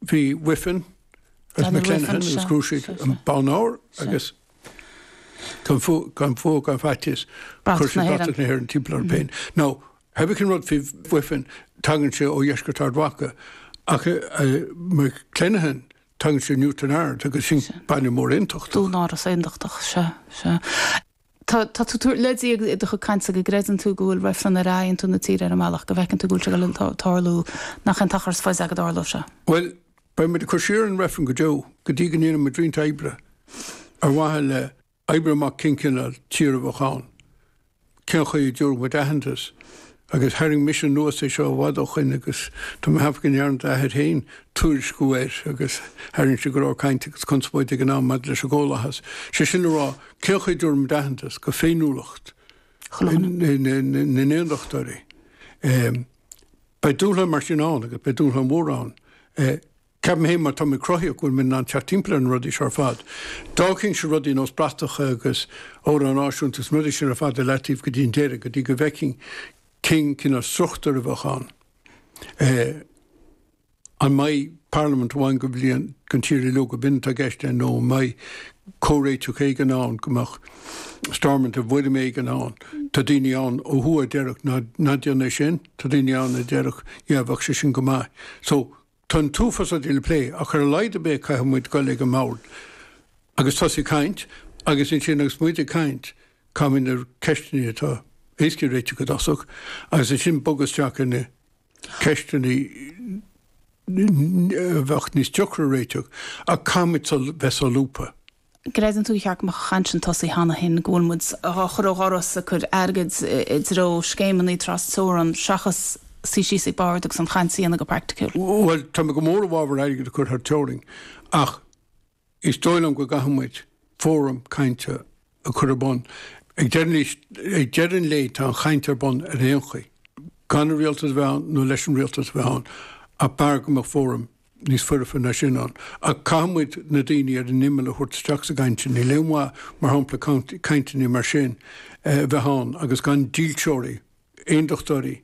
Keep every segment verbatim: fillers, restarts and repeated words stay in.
Bhí Wiffen agus McLennan agus chruthaigh siad an bonn óir agus gan fuath gan faitíos chuir siad bratach na hÉireann timpeall orthu féin. Now, pé cén rud faoi Wiffen tagann sé ó dheisceart Ard Mhacha ach McLennan tagann sé Newtownards agus sin baile mór aontachtach. Dúnáras aontachtach sea sea. Tá tú le dí i do cainte go gcreideann tú go bhfuil reifreann ar aontú na tíre ar an mbealach go bhfeiceann tú go bhfuil sé ag tarlú nach an t-achar is faide go dtarlódh sé. Well, beidh muid ag cur siar an reifreann go deo go dtí go ndéanfaidh muid roinnt oibre ar mhaithe le oibriú amach cén cineál tír a bheadh ann. Cén chaoi a dtabharfadh muid aitheantas? Agus tharraing mise anuas é seo i bhfad ó shoin agus tá mé ag ceapadh go ndearna d'athair féin tuairisciú air agus tharraing sé go leor cainte agus conspóide ag an am maidir leis an gComhlathas. Sé sin le rá, cén chaoi a dtabharfaidh muid aitheantas go féiniúlacht na n-aondachtóirí? Beidh dúshlán mar sin ann agus beidh dúshlán mhór ann. Ceapaim féin, má tá mé cruthaíoch, go bhfuil mé in ann teacht timpeall ar na rudaí seo ar fad. D'fhágfainnse rudaí nós bratacha agus amhrán náisiúnta agus na rudaí sin ar fad i leataobh go dtí an deireadh, go dtí go bhfeicfinn cén cineál struchtúir a bheadh ann. An mbeidh parlaimint amháin go bhliain don tír uilig, ab in atá i gceist nó an mbeidh comhréiteach éigin ann, go mbeadh Stormont i bhfoirm éigin ann? Tá daoine ann ó thuaidh a déarfadh ná ná déan é sin, tá daoine ann a déarfadh yeah bheadh sé sin go maith. So, Tá an t-uafás rudaí le plé, ach ar a laghad ar bith caithfidh muid dul ag an mbord agus tosaí ag caint agus ansin agus muid ag caint caithfidh muid na ceisteanna atá éasca a réiteach i dtosach agus ansin bogadh isteach ar na ceisteanna a bheadh níos deacra a réiteach ach caithfidh muid bheith solúbtha. Gcreideann tú gur cheart go mbeadh an chaint sin tosaithe cheana féin, go bhfuil muid á chur ó dhoras, ag cur airgid i dtreo scéimeanna tras-teorann seachas suí síos ag bord agus an chaint a dhéanamh go praiticiúil? Bhuel, tá mé go mór i bhfabhar airgead a chur thar teorainn ach is dóigh liom go gcaithfidh muid fóram cainte a chur ar bun. Ag deireadh an lae tá an chaint ar bun ar aon chaoi, gan an rialtas a bheith ann nó leis an rialtas a bheith ann, ach b'fhearr go mbeadh fóram níos foirfe ná sin ann. Ach caithfidh muid na daoine ar an imeall a thabhairt isteach sa gcaint sin. Níl aon mhaith, mar shampla, cainteanna mar sin a bheith ann agus gan dílseoirí, aondachtóirí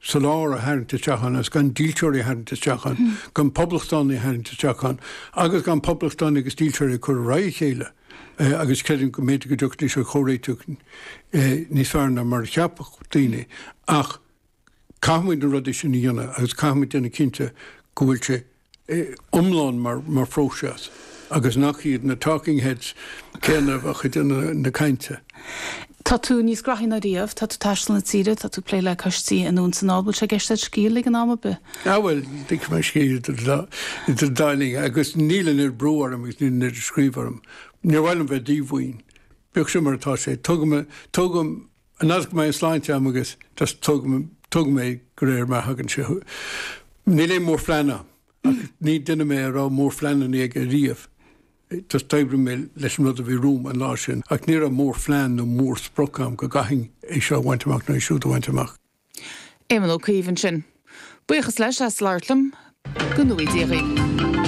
sa lár a tharraingt isteach ann agus gan dílseoirí a tharraingt isteach ann, gan poblachtánaigh a tharraingt isteach ann agus gan poblachtánaigh agus dílseoirí a chur ar aghaidh a chéile agus creidim go mb'fhéidir go dtiocfaidís ar chomhréiteach níos fearr ná mar a cheapfadh daoine. Ach caithfidh muid na rudaí sin a dhéanamh agus caithfidh muid déanamh cinnte go bhfuil sé iomlán mar phróiseas agus nach iad na talking heads céanna a bheadh ag déanamh na cainte. Tá tú níos graithí ná riamh, tá tú ag taisteal na tíre, tá tú ag plé le coistí anonn is anall, bhfuil sé i gceist agat scíth a ligean am ar bith? Ah bhuel, ligfidh mé scíth idir idir an dá linn agus níl an oiread brú orm agus níl an oiread scríobh orm. Níor mhaith liom bheith díomhaoin. Bíodh sin mar atá sé. Tógaim, tógaim An fhad go mbeidh an sláinte agam agus just tógaim tógaim é de réir mar a thagann sé. Níl aon mhórphlean agam ach ní duine mé a raibh mórphleananna aige riamh. Just d'oibrigh mé leis an rud a bhí romham an lá sin ach ní raibh mórphlean nó mórsprioc agam go gcaithfinn é seo a bhaint amach nó é siúd a bhaint amach. Éamon Ó Cuív ansin. Buíochas leis as labhairt liom. Go ngnóthaí Dia dhaoibh.